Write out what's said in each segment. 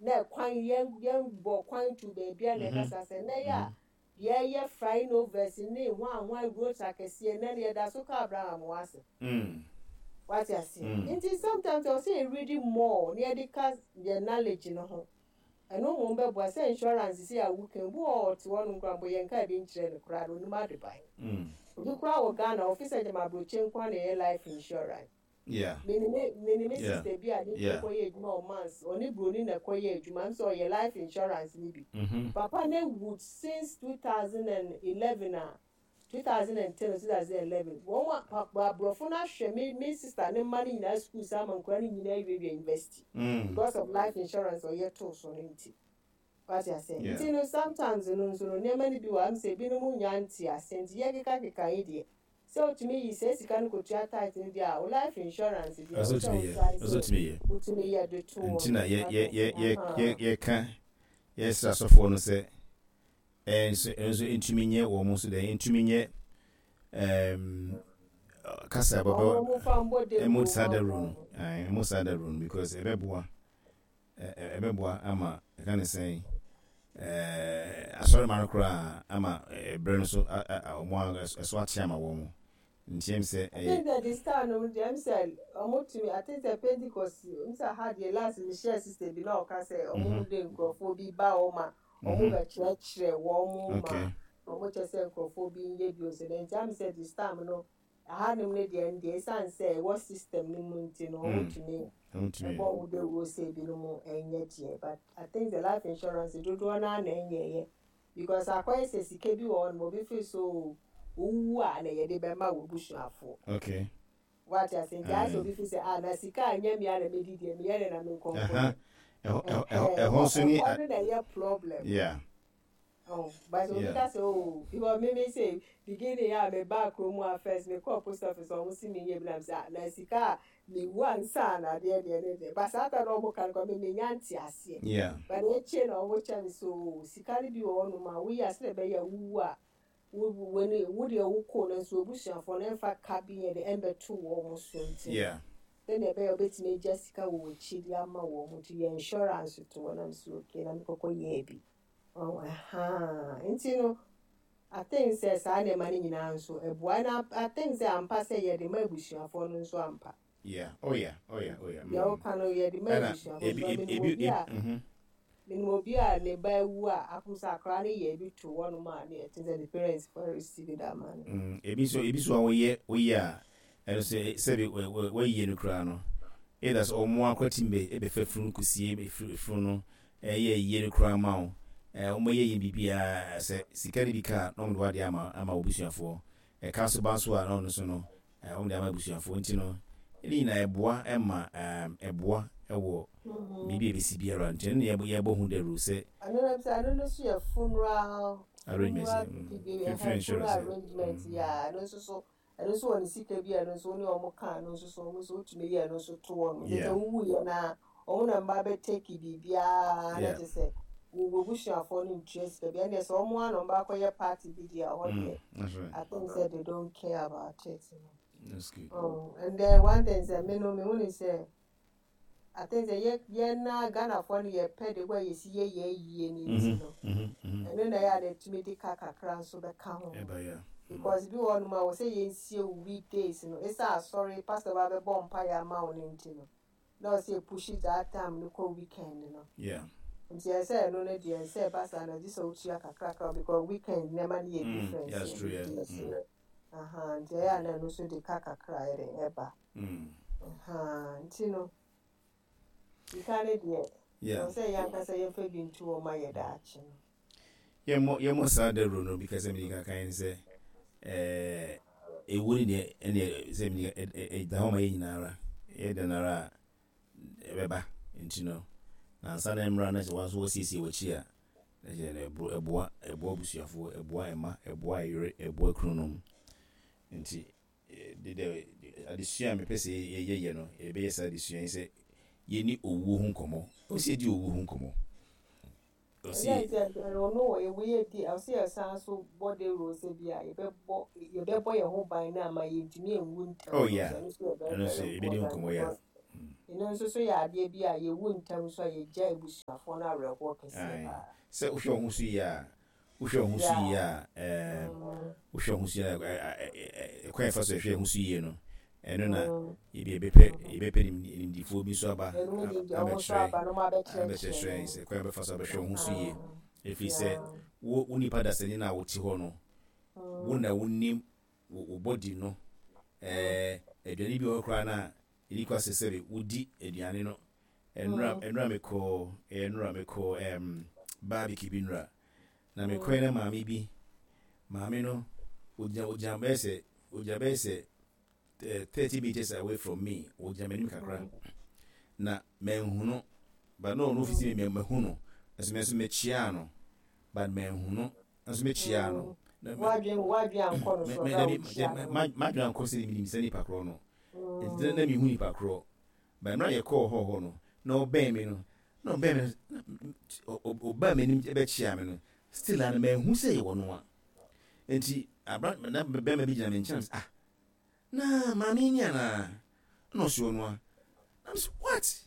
Na ɛkwan yɛn yɛn bɔ kwan to baabi a na ɛkasa sɛ nnɛ yɛ a yɛyɛ flying overs ne hwan hwan roads akɛseɛ, nnɛ no yɛda so ka Abraham ho asɛm. Wate aseɛ? Nti sometimes ɛwɔ sɛ yɛ read more na yɛde ka yɛn knowledge no ho. Ɛno mmom bɛboa sɛ insurance sei a woka yi, obi wɔ hɔ a ɔte hɔnom koraa mpo yɛnkaa bi nkyerɛɛ no koraa no, ɔnnim adeban. Obi koraa wɔ Ghana, ɔfe sɛ gyama abrɔkyire nko ara na ɛyɛ life insurance. Me ne me me ne me sister bi a ne kunu kɔyɛ adwuma wɔ Mans, ɔne buroni na ɛkɔyɛ adwuma, ɛm sɛ ɔyɛ life insurance no bi. Papa no awu since 2011 a, 2010 or 2011, wɔn a pa aborɔfo no ahwɛ me me sister ne mma no nyinaa sukuu saa ma nkwadaa no nyinaa awiewie university because of life insurance a ɔyɛ too so no nti. Wate aseɛ? Nti no sometimes no nso no nneɛma no bi wɔ hɔ a ɛm sɛ ebinom nnya nte aseɛ nti yɛkekakeka yi deɛ sɛ wotumi yi saa sika no kɔtua tithe no deɛ a wo life insurance deɛ ɛwɔ sɛ wo try sɛ wotumi yɛ de to hɔ Nti na no. Wate aseɛ? Ahaa. yɛka yɛsrɛ asɔfoɔ no sɛ Ɛnso ɛnso ntumi nyɛ wɔn nso dɛ ntumi nyɛ ɛɛm kasa bɛbɛ Wɔn wɔn fa mbɔ ɛmo dawuro saa ma dawuro no wɔn. ɛɛ ɛmo saa dawuro no because ɛbɛboa ɛɛ ɛbɛboa ama ɛka ne sɛn ɛɛ asɔrema no koraa ama ɛbrɛ no so a a wɔn a ɛso ate ama wɔn. Nti ɛm sɛ I think ɛyɛ. sɛ this time no deɛ ɛm sɛ ɔmo tumi I think sɛ Pentecost ɛm sɛ ha deɛ last me hyia sister bi na ɔka sɛ ɔmo de nkorɔfoɔ bi ba hɔ ma ɔmo bɛ kyerɛkyerɛ wɔn ma ɔmo kyɛ sɛ nkorɔfoɔ bi nyɛ bio nso dɛ nti ɛm sɛ this time no ɛha nom no deɛ ɛndeɛ ɛsan sɛ ɛwɔ system no mu nti no ɔmo tumi ɛbɔ ɔmo dawuro sɛ ebinom ɛnyɛ deɛ, but I think sɛ life insurance dodoɔ naa na ɛnyɛɛyɛ. Because akɔyɛ sɛ sika bi wɔ hɔ nom obi feel sɛ oo wo wu a na yɛde bɛma w'abusuafoɔ. Wate ase? Nti ayɛ sɛ obi feel sɛ ah na sika a ɛnyɛ me ara na medi deɛ meyɛ dɛn na menkɔ nkɔyɛ. Ɛhɔ Ɛhɛn, nso ne. Ɛhɔ no na ɛyɛ problem. Oh, but obi ka sɛ oo because me me say beginning a me baa kurom a first me kɔɔ post office ɔmo si me nyɛ bi na me sɛ ah na sika a Mewu ansa na adeɛ deɛ ne deɛ but saa ta na ɔmo ka no koraa me menya nteaseɛ but akyire na ɔmo kyɛ me sɛ oo sika no bi wɔ hɔ nom a woyɛ a sɛdeɛ ɛbɛyɛ a wowu a wo w'ani wo deɛ wo koo nanso w'abusuafoɔ no ɛmfa ka bi nyɛ dɛ ɛmbɛto wɔn so nti no sɛdeɛ ɛbɛyɛ a wobɛtumi agya sika wɔ w'akyi de ama wɔn nti yɛ insurance to hɔ na me sɛ okay na mekɔkɔ yɛɛ bi ɔho ɛhaa nti no I think sɛ saa nneɛma no nyinaa nso ɛboa na I think sɛ ampa sɛ yɛde ma abusuafoɔ no nso ampa. Yeah, oh yeah, oh yeah, oh yeah. Deɛ woka no yɛde ma Ɛna abusuafoɔ ebi because ebi menim ebi obi a mhm. menim obi a ne ba awu a akom sɛ akwadaa no yɛ bi to hɔnom a ne ɛte sɛ ne parents for receive that money. Ebi nso ebi nso a woyɛ woyɛ a ɛno nso sɛbi wɔayie no koraa no either sɛ wɔn ara koraa tumi bɛ bɛfa funu kɔsie funu no ɛyɛ ayie no koraa ma wo wɔn yɛ yɛ biribiara sɛ sika no bi ka a na wɔn de w'adeɛ ama ama w'abusuafoɔ ɛka nso ba nso a na ɔno nso no wɔn de ama abusuafoɔ nti no ne nyinaa ɛboa ɛma ɛboa ɛwɔ biribi a ɛbɛsi biara nti ɛno na yɛbɔ ho dawuro sɛ Ɛno no sɛ ɛno no nso yɛ funeral arrangement funeral bibi funeral funeral insurance arrangement yɛ ɛno nso so. Ɛno nso wɔ ne sika bi a ɛno nso wo ne wɔn ka ɛno nso so wɔn nso wotumi yɛ ɛno nso to wɔn. Nti sɛ wowu yɛ no a wɔn na mba bɛ take biribiara na kyerɛ sɛ wo w'abusuafoɔ no ntua sika bi. Ɛndeɛ sɛ wɔn ara na wɔn ba akɔyɛ party bi deɛ ɛhɔ deɛ I think sɛ they don't care about it no. That's good. Oh, and then one thing sɛ me no mehu ne sɛ I think sɛ yɛ yɛn na Ghanafoɔ no yɛpɛ de kɔ yɛsi yɛ yɛ yie no nti no ɛno na ɛyɛ a na ɛtumi de ka kakra nso bɛka ho because bi wɔ hɔnom a wɔ sɛ yɛnsie wo weekdays no ɛsɛ asɔre pastor ba bɛbɔ mpaeɛ ama wo no nti no na ɔsɛ yɛ push that time no kɔ weekend no nti ɛsɛ ɛno no deɛ ɛsɛ ɛba saa no gye sɛ wotua kakrakra because weekend nneɛma no yɛ different that's true, yeah. weekdays no aha nti ɛyɛ a na ɛno nso de ka kakra yɛ den ɛba. Ahaa, nti no, sika no deɛ, ɛwɔ sɛ yɛn ankasa yɛmfa bi nto hɔ ma yɛ daakye no. Yɛmmɔ yɛmmɔ saa dawuro no bi ka sɛ mede kankan ne sɛ ɛɛ ewu ne deɛ ɛne sɛ mede ɛda hɔ ma yɛn nyinaa ara ɛyɛ dɛn ara a ɛbɛba nti no na ansa na mmra na sɛ wɔn nso wɔsiesie wɔakyi a na kyerɛ no ɛboa ɛboa ɛboa abusuafoɔ ɛboa mma ɛboa ɛyere ɛboa kununom nti De dɛ adesua a mepɛ sɛ yɛyɛ no, yɛbɛyɛ saa adesua yi sɛ yɛnni owuo ho nkɔmmɔ. Ɛwɔ sɛ yɛdi owuo ho nkɔmmɔ. Ɛwɔ sɛ Ɛnyɛ sɛ ɔno wɔ ewu yɛ di ɛwɔ sɛ yɛsan so bɔ dawuro sɛ bi a yɛbɛbɔ yɛbɛbɔ yɛn ho ban na ama yɛntumi anwu ntɛm Oh no yeah, nso ɛno nso yɛ very ɛno nso very yɛbɛdi ho important nkɔmmɔ yeah. because Mm. Eno nso so yɛ adeɛ bi a yɛwu ntɛm nso a yɛgya abusuafoɔ no awerɛhoɔ kɛseɛ Ae. paa. Sɛ wohwɛ wo ho so yie a, wohwɛ wo ho so yie a, ɛɛ, wohwɛ wo ho so yie a, ɛ, ɛ, kwan a yɛfa so hwɛ yɛn ho so yie no, ɛno na ebi yɛbɛpɛ, yɛbɛpɛ nimdifoɔ bi nso aba abɛkyerɛ, abɛkyerɛkyerɛ yɛn sɛ kwan a yɛbɛfa so abɛhwɛ wo ho so yie. Ɛfiri sɛ, wo, wo nipa dasani no a wote hɔ no, wo na wonim wo, wo body no. Ɛɛ, aduane bi wɔ hɔ koraa no a, ɛni kwa sɛ sɛbe wodi aduane no. Ɛnora, ɛnora mekɔɔ, ɛyɛ nora mekɔɔ, ɛɛm, barbecue bi nora. Na mekɔɛ na maame bi, maame no, ogyina, ogyina bɛyɛ sɛ, ogyina bɛyɛ sɛ 30 meters away from me, ogyina m'anim kakra. Na manhu no, but na ɔno ofisi me, mahu no. Nso me nso mekyiaa no, but manhu no. Nso mekyiaa no. W'adwene, w'adwene ankɔ no so, ɔbɛ a wokyia no. M'adwene ankɔ sɛ menim sɛ nipa korɔ no. Nti na mehu nipa korɔ. But mmerɛ a yɛkɔɔ hɔ hɔ no, na ɔbɛn me no, na ɔbɛn me no, ɔbaa m'anim bɛkyia me no, still a no manhu sɛ yɛwɔ no a. Nti abra na bɛrima bi gyina me nkyɛn ah, na maame yi ni anaa? Ɛna ɔsi ɔno a. Na me sɛ what?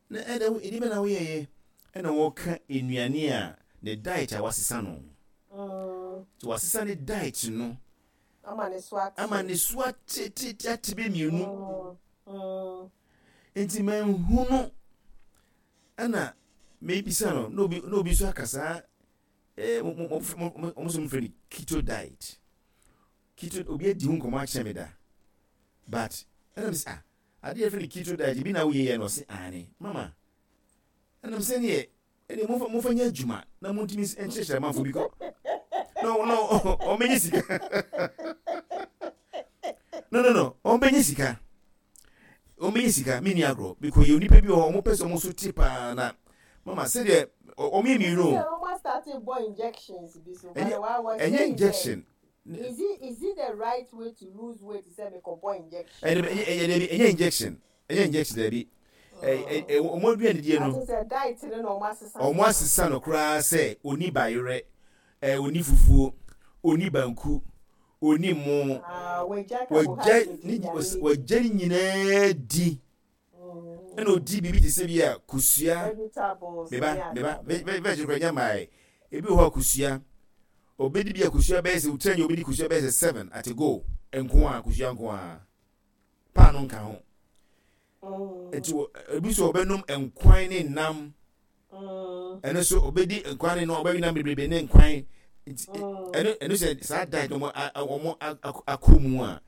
Na ɛdɛ ɛdi bɛ na woyɛyɛ? Ɛna wɔka nnuane a ne diet a wasesa no. Nti wasesa ne diet no. Ama ne so ate. Ama ne so ate te te ate bɛ mmienu. Nti manhu no. Ɛna mebisa no na obi na obi nso aka saa eh mo mo mo mo mo nso mfrɛ no keto diet. Keto obi adi ho nkɔmɔ akyerɛ me da. But ɛna me sɛ ah adeɛ yɛfrɛ no keto diet ebi na woyɛ yɛ no ɔse aane mama. Ɛna me sɛ neɛ Ɛnneɛ momfa momfa nyɛ adwuma na montumi nkyerɛkyerɛ amanfoɔ bi kɔ no no ɔmbɛnya sika no no no ɔmbɛnya sika ɔmbɛnya sika menni agorɔ bikɔ yɛ onipa bi wɔ hɔ ɔmo pɛ sɛ ɔmo so te paa na mama sɛdeɛ ɔmo yɛ mmienu o ɛnyɛ injection. Is it is it the right way to lose weight sɛ mekɔbɔ injection? Ɛnyɛ ɛnyɛ injection. Ɛnyɛ injection daabi. Wɔn aduane die no. Ati sɛ diet no na wɔn asesa. Wɔn asesa no koraa sɛ oni bayerɛ, ɛɛ oni fufuo, oni banku, oni mo. Ah, wagya carbohydrate ne wagya ne nyinaa di. Ɛna odi biribi te sɛ bi a kosua. Vegetables. Meba meba veg kora nya maae. Ebi wɔ hɔ a kosua. Obedi bi a kosua bɛyɛ sɛ wotira nyɛ obedi kosua bɛyɛ sɛ seven at a go. Nko a kosua nko a. Paano nka ho. Nti ebi nso ɔbɛnom nkwan ne nam. Ɛno nso ɔbɛdi nkwan ne nam ɔbɛwi nam bebrebe ne nkwan. Nti ɛno ɛno sɛ saa diet no wɔn akɔ mu a.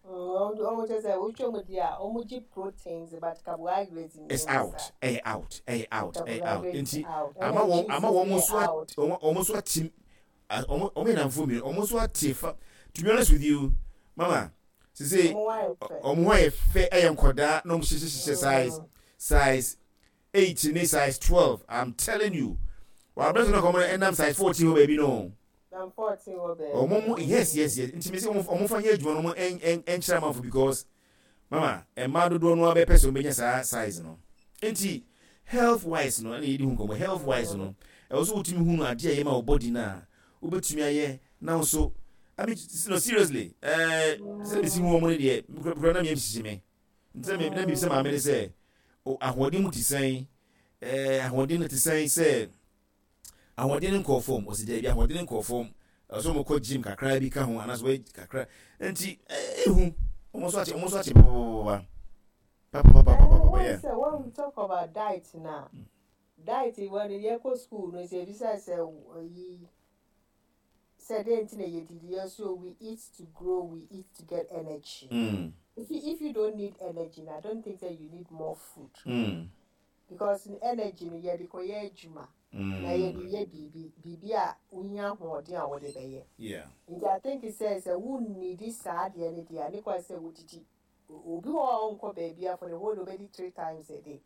Wɔn kyerɛ sɛ wotwa mu di a wɔn gye proteins but carbohydrates. It's out ɛyɛ out ɛyɛ out ɛyɛ out nti ama wɔn ama wɔn nso wɔn nso atim wɔn wɔn yɛ namfo mmienu wɔn nso ate fa to be honest with you mama sise wɔn ho ayɛ fɛ ɛyɛ nkɔdaa na wɔn hyehyɛ hyehyɛ size size 8 ne size 12 i'm telling you wɔn abɛn so na kɔn ɛnam size 14 hɔ baabi no wɔn mo yes yes yes nti mi sɛ wɔn fa nyɛ adwuma no wɔn ɛnkyerɛ amanfo because Mama, mmaa dodoɔ no ara bɛpɛ sɛ wɔbɛnya saa size no. Nti, health wise no, ɛna yɛdi ho nkɔmmɔ, health wise no, ɛwɔ sɛ wotumi hunu adeɛ a ɛyɛ ma wo body no a, wobɛtumi ayɛ na wo nso, I mean, no, seriously, ɛɛ, sɛ mesi hu wɔn no deɛ, mekura na meyam hyehye me. Nti na na mebisa maame no sɛ, ahoɔden mu te sɛn? Ɛɛ, ahoɔden no te sɛn sɛ, Ahoɔden no nkɔɔ fam. Ɔsi daabi, ahoɔden no nkɔɔ fam. Ɛwɔ sɛ wɔkɔ gym kakra bi ka ho anaasɛ wɔyɛ kakra. Nti ehu. Wɔn nso akye, wɔn nso akye papapapa. Papapapapapa yeah. Sɛ when we talk about diet na diet when yɛkɔ school no sɛ ebisa sɛ yi sɛ dɛn nti na yɛdidi yɛ so we eat to grow we eat to get energy. If you don't need energy, I don't think that you need more food. Because energy no yɛde kɔyɛ adwuma na yɛde yɛ biribi, biribi a wohia ahoɔden a wode bɛyɛ. Nti I think sɛ sɛ wonnidi saa adeɛ no deɛ a, ne kwan sɛ wodidi. Obi wɔ hɔ a ɔnkɔ baabi a for the whole day obɛdi 3 times a day.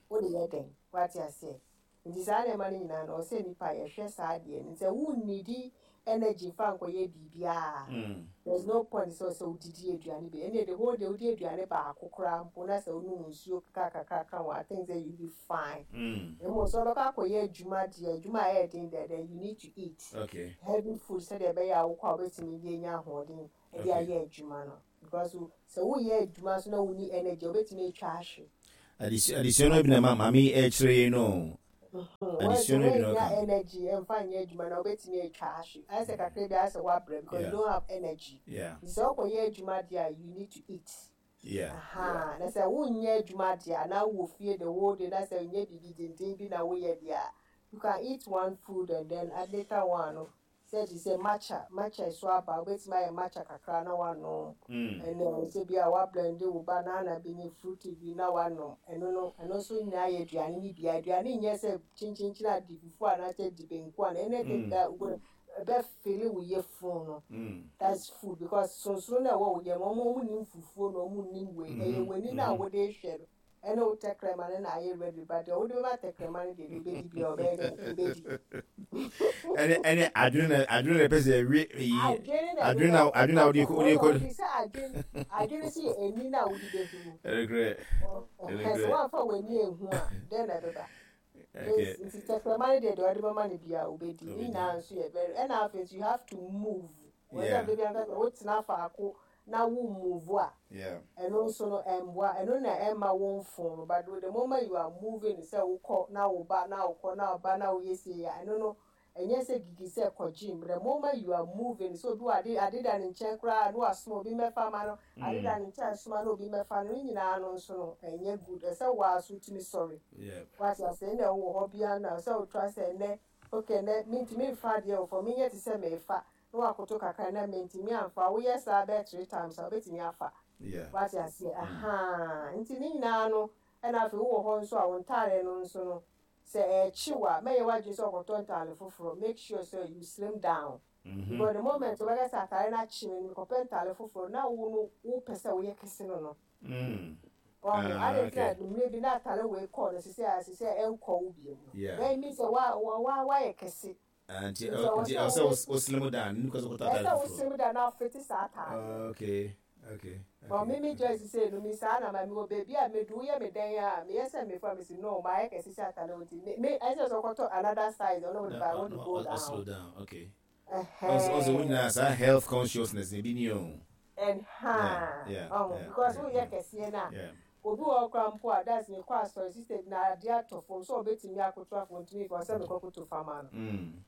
Wode yɛ dɛn? Wate aseɛ? Nti saa nneɛma no nyinaa no, ɔwɔ sɛ nipa yɛhwɛ saa adeɛ no. Nti sɛ wonnidi energy fa nkɔyɛ biribiara, there's no point sɛ sɛ wodidi aduane bi. Ɛnneɛ the whole day wodi aduane baako koraa mpo na sɛ wonom nsuo kakra kakra ka ho, I think sɛ you be fine. Mmom sɛ wobɛkɔ akɔyɛ adwuma deɛ, adwuma a ɛyɛ den deɛ, then you need to eat heavy food sɛdeɛ ɛbɛyɛ a wokɔ a wobɛtumi de anya ahoɔden de ayɛ adwuma no. Because sɛ woyɛ adwuma nso na wonni energy a, wobɛtumi atwa ahwe. Adesua adesua no bi na ma maame yi ɛrekyerɛ yɛn no. Adesua no bi na ɔka. Energy ɛmfa nyɛ adwuma na wobɛtumi atwa ahwe. Ayɛ sɛ kakra bi ayɛ sɛ woabrɛ because you don't have energy. Nti sɛ wokɔyɛ adwuma deɛ a you need to eat. Yeah. Aha, na sɛ wonyɛ adwuma deɛ a na wowɔ fie the whole day na sɛ nyɛ biribi denden bi na woyɛ deɛ a you can eat one food and then later one no Sɛ te sɛ matcha, matcha ɛso aba a, wobɛtumi ayɛ matcha kakra na woanom. Ɛnna sɛ bi a woablɛnde wo banana bi ne fruit bi na woanom. Ɛno no, ɛno nso nyinaa yɛ aduane no bi. Aduane nyɛ sɛ kyenkyenkyen a di fufu anaasɛ di banku anaa anything that wobɛ ɛbɛfili wo yafunu no. That's food because sonsono no a ɛwɔ wo yam, wɔn wɔn nnim fufuo na wɔn nnim wei. Ɛyɛ w'ani no a wode rehwɛ no. Ɛne wo tɛkrɛma no na ayɛ ready but deɛ wode bɛma tɛkrɛma no deɛ deɛ ɔbɛdi biara ɔbɛyɛ dɛ ɔbɛdi. Ɛne ɛne adwene na adwene na ɛpɛ sɛ ɛwe yi adwene na adwene na wode wode kɔ. Sɛ adwene adwene sɛ yɛ ani na wode bɛhunu. Ɛrekorɛ ɛrekorɛ. Sɛ woamfa w'ani anhu a dɛn na ɛbɛba. Nti tɛkrɛma no deɛ deɛ ɔde bɛma no biara ɔbɛdi ne nyinaa nso yɛ very ɛna afei nso you have to move. Yeah. Wɔn baabi anka sɛ wotena faako na wo move a, Yeah. ɛno nso no ɛmboa, ɛno na ɛmma wo mfon no, but the moment you are moving sɛ wokɔ na wo ba na wokɔ na wo ba na woyɛ sei a, ɛno no ɛnyɛ sɛ gigi sɛ kɔ gym, the moment you are moving sɛ obi wɔ ade ade da ne nkyɛn koraa na wasoma obi mmɛfa ma no, ade da ne nkyɛn soma na obi mmɛfa no, ne nyinaa no nso no ɛnyɛ good, ɛsɛ wo ara so wotumi sɔre. Wate aseɛ, ɛnna wowɔ hɔ biara no a sɛ wotra sɛ ɛnnɛ okay ɛnnɛ mentumi mfa adeɛ wɔ fam, menyɛ te sɛ merefa, na wakoto kakra na mentumi amfa, woyɛ saa bɛyɛ 3 times a wobɛtumi afa. Wate aseɛ? Ahaa. Nti ne nyinaa no, ɛna afei wowɔ hɔ nso a wo ntaadeɛ no nso no, sɛ ɛrekye wo a, mɛnyɛ w'adwene sɛ ɔkɔtɔ ntaade foforɔ. Make sure sɛ you slim down. Because the moment wobɛka sɛ ataade no akye me no, mekɔpɛ ntaade foforɔ, na wo no wopɛ sɛ woyɛ kɛse no no. Wahu? Adɛn nti na mmerɛ bi na ataade wei kɔɔ no sisi a sisi a ɛnkɔ wo bio no? Then it means sɛ wa wa wayɛ kɛse. Nti nti ɛwɔ sɛ wo slim down ne kɔ sɛ kɔtɔ ataade foforɔ. Ɛsɛ wo slim down na afiti saa ataade. Okay. But me me Joyce sɛ no me saa na ma me wɔ baabi a medu woyɛ me dɛn a meyɛ sɛ mefa me si no mayɛ kɛse sɛ ataade wo nti me me ɛsɛ sɛ ɔkɔtɔ another size ɔno wode ba I want to go down. Slow down, okay. Ɔsɛ wo nyinaa saa health consciousness na ebi ni o. Ɛnha ɔho because woyɛ kɛseɛ no a obi wɔ hɔ koraa mpo a that's mekɔ asɔre sister bi na adeɛ atɔ fam sɛ ɔbɛtumi akoto afɔ ntumi nfa sɛ mekɔ koto fama no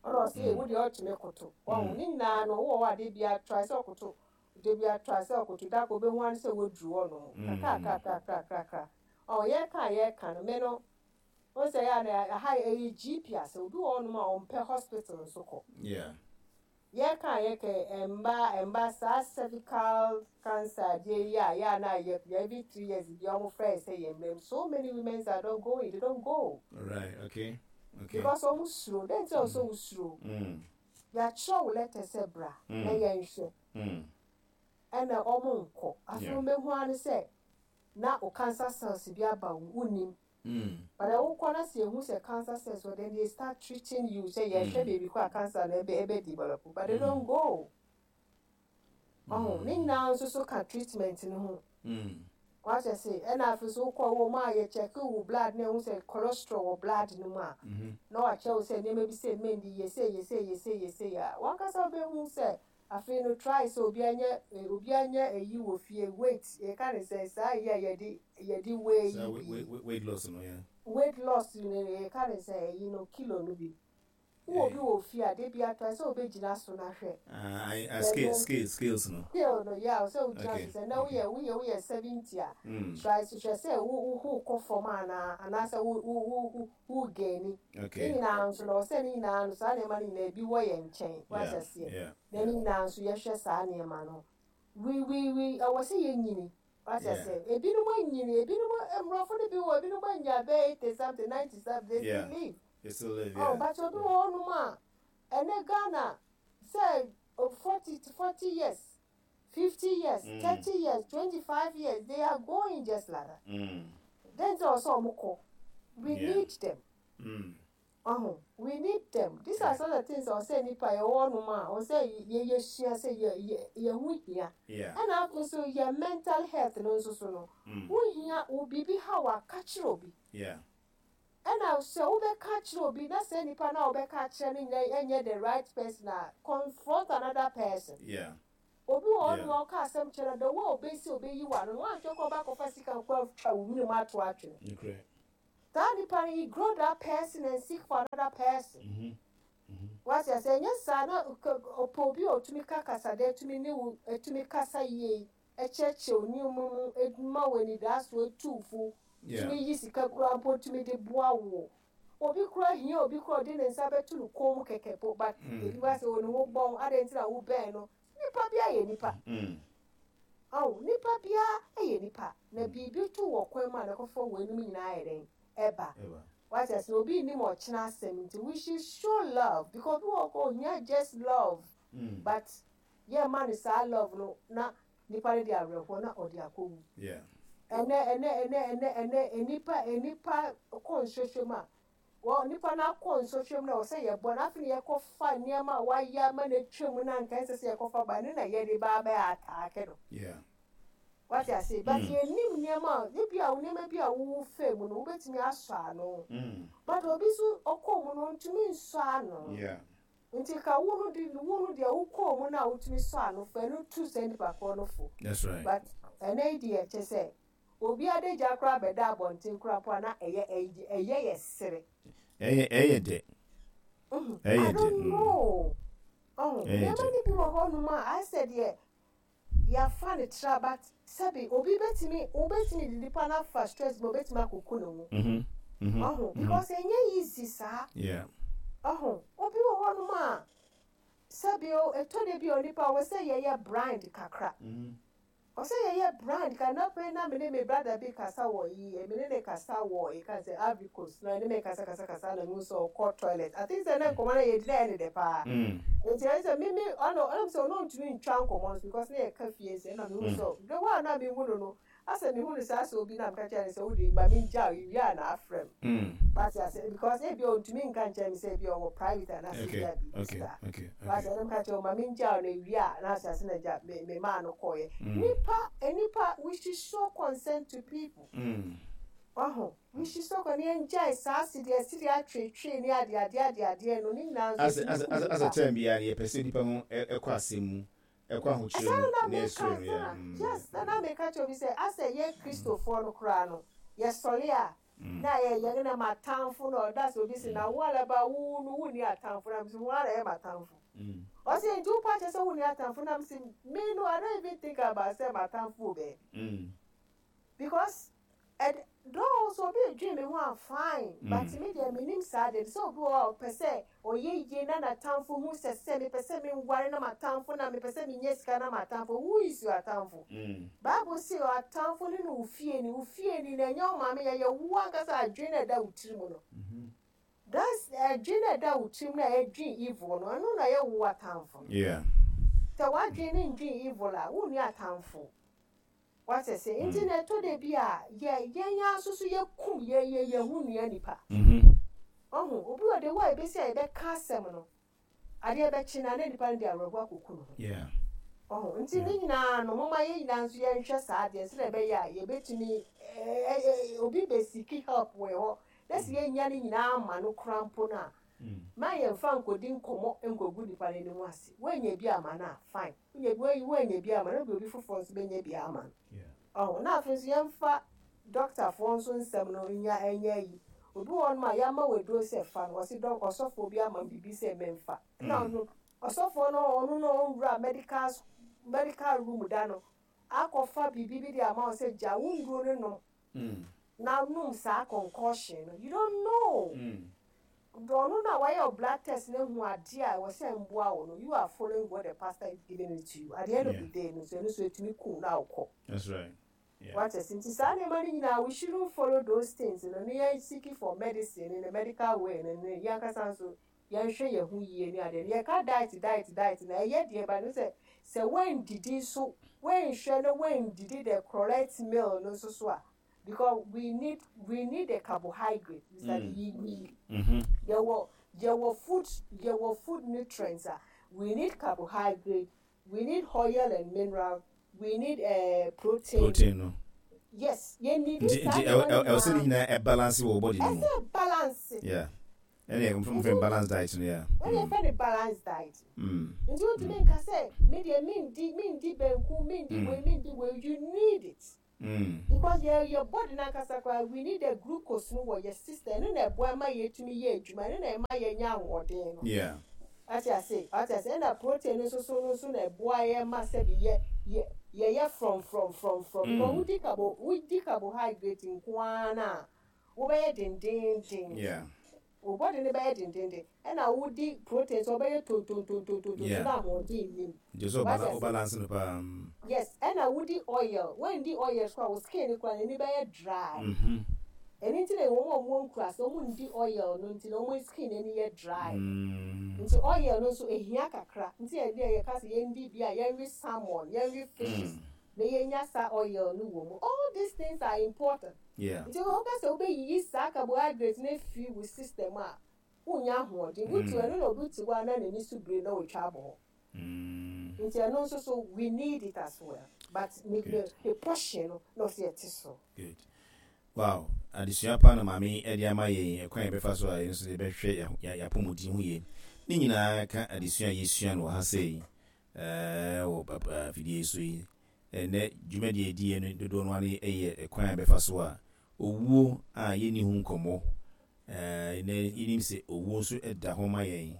ɔna ɔsɛ ee wo deɛ ɔtumi koto ɔho ne nyinaa no wowɔ hɔ adeɛ bi atra sɛ ɔkoto de bi atra sɛ ɔkoto da kɔ obehu ano sɛ waduru hɔ nom kakrakrakrakrakra ɔho yɛka a yɛka no me no wɔn sɛ yɛ a na aha ɛyɛ GP asɛ obi wɔ hɔ nom a ɔmpɛ hospital nso kɔ. Yɛka a yɛka mba mba saa cervical cancer adeɛ yi a yɛ a na yɛ every 3 years bi a wɔn frɛ sɛ yɛ mmerɛ mu, so many women are not going, they don't go. Right, okay. Because wɔn suro. Den ti a wɔsɛ wɔn suro? Yɛakyerɛ wo letter sɛ bra na yɛnhwɛ. Ɛna wɔn nkɔ. Afei wɔn bɛhu ano sɛ na o cancer cells bi aba wo nim. But wokɔ na sɛ ehu sɛ cancer cells wɔ, then they start treating you sɛ yɛhwɛ baabi kɔ a cancer no ɛbɛ ɛbɛ develop, but they don't go. Ɔho ne nyinaa nso so ka treatment no ho. Wakyɛ se ɛna afei so wokɔ wɔ mu a yɛ check wo blood na ehu sɛ cholesterol wɔ blood no mu a, na wakyerɛ wo sɛ nneɛma bi sɛ mendi yɛ sɛ yɛ sɛ yɛ sɛ yɛ sɛ yɛ a wankasa wobɛhu sɛ afei no try sɛ obi anya obi anya eyi wɔ fie, weight yɛka ne sɛ saa yi a yɛde weigh yi bi. Weight loss no, yeah. Weight loss no yɛka ne sɛ eyi no kilo no bi wowɔ bi wɔ fie a de bi atry sɛ wobɛgyina so na hwɛ. Ah, scale scale scales no. Scale no, yeah, sɛ wogyina so sɛ na woyɛ 70 a, try so hwɛ sɛ wo wo kɔ fam anaa anaasɛ wo gain. Ne nyinaa nso no ɔsɛ ne nyinaa no saa nneɛma no nyinaa ebi wɔ yɛn nkyɛn wahyɛ seɛ na ne nyinaa nso yɛhwɛ saa nneɛma no we ɛwɔ sɛ yɛnyini wahyɛ sɛ ebinom anyini, ebinom mmorɔfo no bi wɔ ebinom anya bɛyɛ 80 something, 90 something, they still live. They still live, yeah. Oh, but obi wɔ hɔnom a ɛnɛ Ghana sɛ 40 years, 50 years, 30 years, 25 years, they are going just like that. Then sɛ ɔsɛ ɔmo kɔ, we need them. Oh, we need them. These are some of the things ɔsɛ nipa yɛ wɔ hɔnom a ɔsɛ yɛ yɛsua sɛ yɛ ho hia. Ɛna afei so yɛ mental health no nso so no ho hia. Wo biribi ha wa ka kyerɛ obi. Ɛna sɛ wobɛka kyerɛ obi na sɛ nipa na wobɛka kyerɛ no nyɛ ɛnyɛ the right person a, confront another person. Obi wɔ hɔnom a ɔka asɛm kyerɛ no, the way ɔbɛsi ɔbɛyi w'ano no, woanhwɛ koraa ɔbɛakɔfa sika nko atwa wo hwene mu ato atwene. Saa nipa no, ignore that person and seek for another person. Wate ase? Ɛnyɛ saa na ɔpɛ obi a ɔtumi ka kasadɛ, tumi ne wo tumi kasa yie, kyerɛkyerɛ wo nneɛma mu, ma wo anidasoɔ, tu wo fo, tumi yi sika koraa mpo tumi de boa wo. Obi koraa hia obi koraa ɔde ne nsa bɛto ne kɔn mu kɛkɛ po, but ebi ba sɛ ɔne wo bɔn, adɛn nti na wobɛn no? Nipa biara yɛ nipa. Ɔho, nipa biara yɛ nipa, na biribi to wɔ kwan mu a na ɛkɔfa weinom nyinaa ayɛ dɛn? Ɛba. Wate ase? Na obi nnim ɔkyena asɛm nti we should show love because obi wɔ hɔ koraa ohia just love but yɛmma no saa love no na nipa no de awerɛhoɔ na ɔde akɔwu. Ɛnɛ ɛnɛ ɛnɛ ɛnɛ ɛnɛ nnipa nnipa kɔ nsɔhwɛ mu a wɔ nipa no akɔ nsɔhwɛ mu na ɛwɔ sɛ yɛbɔ no afei na yɛkɔfa nneɛma a wayɛ ama no atwa mu na anka ɛnsɛ sɛ yɛkɔfa ba ɛno na yɛde ba abɛ ataake no. Wate ase? But yɛnnim nneɛma a ebi a nneɛma bi a wowo faa mu no wobɛtumi asɔ ano. But obi nso ɔkɔɔ mu no ɔntumi nsɔ ano. Nti ka wo no de wo no deɛ wokɔɔ mu no a wotumi sɔ ano fa ɛno tu saa nipa korɔ no fo. That's right. But ɛnɛ yi deɛ kyɛ sɛ obi adagya koraa bɛda abɔnten koraa mpo a na ɛyɛ ɛyɛ yɛ sere. Ɛyɛ ɛyɛ dɛ. Ɛyɛ I dɛ. don't know. Ɔho Ɛyɛ nneɛma dɛ. no bi wɔ hɔnom a ayɛ sɛ deɛ Yɛafa no tra but sɛbe obi bɛtumi wobɛtumi de nipa no afa stress mu obɛtumi akɔku ne ho wahu because ɛnyɛ easy saa wahu obi wɔ hɔ nom a sɛbe o ɛtɔ da bi a onipa wɔ sɛ yɛyɛ blind kakra wɔ sɛ yɛyɛ blind kakra na pɛ na mene me brother bi kasa wɔ yi mene ne kasa wɔ yɛka sɛ Ivory Coast na ɛne me kasa kasa kasa na mehu sɛ ɔkɔ toilet I think sɛ na nkɔmmɔ no yɛdi na ɛyɛ ne dɛ paa Nti ɛyɛ sɛ me me ɔno ɔnam sɛ ɔno ntumi ntwa nkɔmmɔ no so because na yɛka fie nsɛm na mehu sɛ the way a na mehu no no asɛ mehu no saa sɛ obi na meka kyerɛ no sɛ wode ma mengyaw ewie a na afrɛ m wate ase because ebi a ɔntumi nka nkyerɛ me sɛ ebi a ɔwɔ private anaasɛ ebi a biribi saa wate ɛna meka kyerɛ ma mengyaw no ewie a na ase ase na gya me me maa no kɔɔeɛ nipa nipa we should show consent to people waho Nhyehyɛ kɔ na yɛngyae saa sedeɛ atweetwee ne adeadeɛ adeadeɛ no, ne nyinaa nso Asɛ ɛtumi asɛ kum asɛ asɛ nipa. term biara no yɛpɛ sɛ nipa ho ɛkɔ asɛm mu, ɛkɔ ahokyerɛ Ɛsaa mu na na na meka yɛsrɛ no saa yeah mm. yes na na meka kyerɛ obi sɛ asɛ yɛn Kristofoɔ no koraa no yɛsɔre a na yɛ yɛn na m'atamfo na ɔda sɛ obi se na wo alaba wo no wonni atamfo na mese wɔn ara yɛ m'atamfo ɔse nti wo pa kyerɛ sɛ wonni atamfo na mese me no I don't even think about sɛ m'atamfo wɔ baabi because Ɛd though sɛ obi redwen me ho a fine but me deɛ mennim saa deɛ sɛ obi wɔ hɔ a ɔpɛ sɛ ɔyɛ yie na n'atamfo hu sɛ sɛ mepɛ sɛ menware na m'atamfo na mepɛ sɛ menya sika na m'atamfo who is your atamfo Bible se atamfo no ne wo fieni wo fieni no ɛnyɛ wo maame ɛyɛ wo ankasa adwene na ɛda wo tiri mu no that's adwene na ɛda wo tirim na ɛdwen evil no ɛno na ɛyɛ wo atamfo no sɛ w'adwene no ndwen evil a wonni atamfo Wate ase? Nti na ɛtɔ da bi a, yɛ, yɛn ara nso so yɛkum yɛn, yɛn, yɛn ho nua nipa. Wahu? Obi wɔ the way a ɛbɛsi a yɛbɛka asɛm no, adeɛ bɛkye no a, na nipa no de awerɛhoɔ akɔku ne ho. Wahu? Nti ne nyinaa no, momma yɛn nyinaa nso yɛnhwɛ saa adeɛ no sɛdeɛ ɛbɛyɛ a yɛbɛtumi, ɛ, ɛ, obi bɛ seek help wɔ yɛn hɔ, na sɛ yɛnnya ne nyinaa amma no koraa mpo no a, mma yɛmfa nkɔdi nkɔmmɔ nkɔgu nipa no anim ase. Woannya bi amma no a, fine. Wonya bi, woayi, woannya bi ama no, ebia obi foforɔ nso bɛnya bi ama no. Ɔho, na afei nso yɛmfa dɔktafoɔ nso nsɛm no nya ɛnyɛ ayi. Obi wɔ hɔnom a yɛama wo aduro sɛ fa no, ɔse dɔk, ɔsɔfoɔ bi ama me biribi sɛ memfa. Ɛna ɔno, ɔsɔfoɔ no, ɔno no ɔnwura medical, medical room da no, akɔfa biribi bi de ama wo sɛ gya wo nnuro no nom na nom saa concoction no, you don't know. Ɔno na wayɛ wo blood test na ahu adeɛ a ɛwɔ sɛ mboa wo no, you are following what the pastor is giving it to you. At the end of the day no nso, ɛno nso ɛtumi ku wo na wokɔ. That's right. Yeah. Wate ase? Nti saa nneɛma no nyinaa, we shouldn't follow those things no, ne yɛn seeking for medicine in the medical way no, ne yɛn ankasa nso yɛnhwɛ yɛn ho yie ne adeɛ no. Yɛka diet, diet, diet no, ɛyɛ deɛ but no sɛ, sɛ woandidi nso, woanhwɛ na woandidi the correct meal no nso so a, because we need we need the carbohydrate Mr. Mm. Yi yi mm-hmm. yɛwɔ yɛwɔ food yɛwɔ food nutrients a we need carbohydrate we need oil and mineral we need uh, protein. Protein no. Yes, yɛn need saa nneɛma nyinaa. Nti ɛwɔ sɛ ne nyinaa ɛ balance wɔ body no mu. Ɛsɛ balance. Yeah. Ɛne yɛfrɛ balance diet no yeah. Ɛne yɛfrɛ no balance diet. Nti wontumi nka sɛ me deɛ mendi mendi banku, mendi wei, mendi wei, you need it. Because yɛ yɛ body no ankasa koraa we need the glucose no wɔ yɛ system, ɛno na ɛboa ma yɛtumi yɛ adwuma, ɛno na ɛma yɛnya ahoɔden no. Wate ase? Wate ase? Ɛna protein no nso so no nso na ɛboa yɛ ma sɛbi yɛ yɛ yɛyɛ frɔmfrɔm frɔmfrɔm. Because wodi carbo wodi carbohydrate nko ara no a, wobɛyɛ dendeenden. Wo body no bɛyɛ dendeenden. Ɛna wodi protein nso ɔbɛyɛ tontontontontonton na ahoɔden nnim. Nti sɛ Wate ase? wo balance no paa. Yes, ɛna wodi oil, woandi oil so a wo skin no koraa n'ani bɛyɛ dry. Ɛno nti na wɔn a wɔwɔ nkuraase no wɔndi oil no nti na wɔn skin ani yɛ dry. Nti oil no nso ɛhia kakra. Nti ɛdeɛ yɛka sɛ yɛndi bi a yɛnwe salmon, yɛnwe fishes na yɛnya saa oil no wɔ mu. All these things are important. Nti wopɛ sɛ wobɛyiyi saa carbohydrate no afiri wo system a, wonnya ahoɔden. Wotu ɛno na obi te hɔ a na n'ani so biri na ɔtwa abɔ hɔ. Nti ɛno nso so we need it as well. But ne ne portion no na ɔsɛ yɛte so. Good. Wow, adesua pa na maame yi de ama yɛn, ɛkwan a yɛbɛfa so a yɛn nso yɛbɛhwɛ yɛn apɔmuden ho yie. Ne nyinaa ka adesua a yɛsua no wɔ ha sei wɔ afidie yi so yi. Ɛnnɛ dwumadie a yɛdiiɛ no dodoɔ no ara yɛ ɛkwan a yɛbɛfa so a owuo a yɛnni ho nkɔmmɔ, ɛnnɛ yɛnim sɛ owuo nso da hɔ ma yɛn,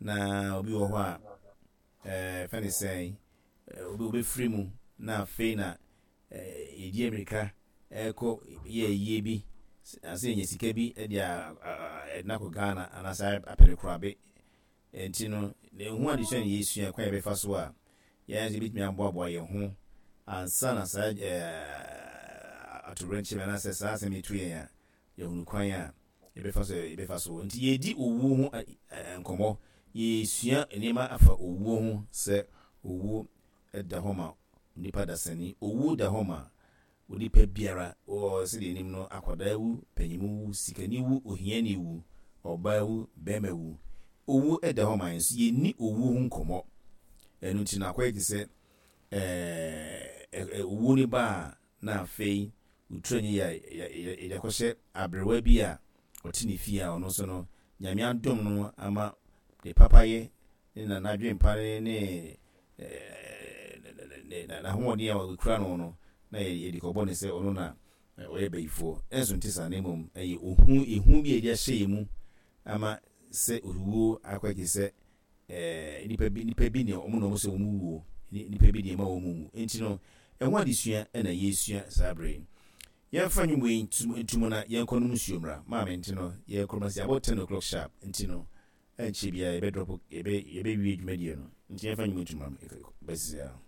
na obi wɔ hɔ a ɛɛ fɛ ne sɛn, obi obɛfiri mu na afei na yɛdi amirika ɛkɔ yɛ ayie bi, ansa yɛnya sika bi de a ɛde akɔ Ghana anaasɛ apɛ no korabe. Enti no, na ɛho adesua na yɛresua, kwan a yɛbɛfa so a yɛn nso yɛbɛtumi aboaboa yɛn ho ansa na saa atoyerɛnkyɛm anaasɛ saa asɛm yi to yɛn a, yɛahunu kwan a yɛbɛfa so yɛbɛfa so. Nti yɛredi owuo ho nkɔmmɔ, yɛresua nneɛma afa owuo ho sɛ owuo da hɔ ma onipa dasani, owuo da hɔ ma Onipa biara, wɔ sɛdeɛ yɛnim no, akwadaa wu, panyinmu wu, sikani wu, ohiani wu, ɔbaa wu, barima wu. Owuo da hɔ ma yɛn nso yɛnni owuo ho nkɔmmɔ. Ɛno nti no akɔyɛ te sɛ ɛɛ owuo no ba a na afei wotura nyɛ yɛ yɛde akɔhyɛ aberewa bi a ɔte ne fie a ɔno nso no Nyame adom no ama ne papayɛ ne na n'adwempa ne ne n'ahoɔden a ɔkura no no, na yɛde kɔbɔ no sɛ ɔno na ɔyɛ bayifoɔ. Ɛnso nte saa, na mmom ɛyɛ ohu, ehu bi a yɛde ahyɛ yɛn mu ama sɛ owuo akɔyɛ te sɛ nnipa bi, nnipa bi ne wɔn na wɔn sɛ wɔn wuo, nnipa bi deɛ ɛma wɔn wu. Nti no, ɛho adesua na yɛresua saa berɛ yi. Yɛmfa nnwom wei nto mu na yɛnkɔnom nsuo mmra. Maame, nti no, yɛrekɔ ma sɛ abɔ 10 o'clock sharp, nti no, Ɛnkyɛ biara yɛbɛ drop yɛbɛ yɛbɛ wie dwumadie no nti yɛnfa nnwom nto mu ma me bɛsisi ara.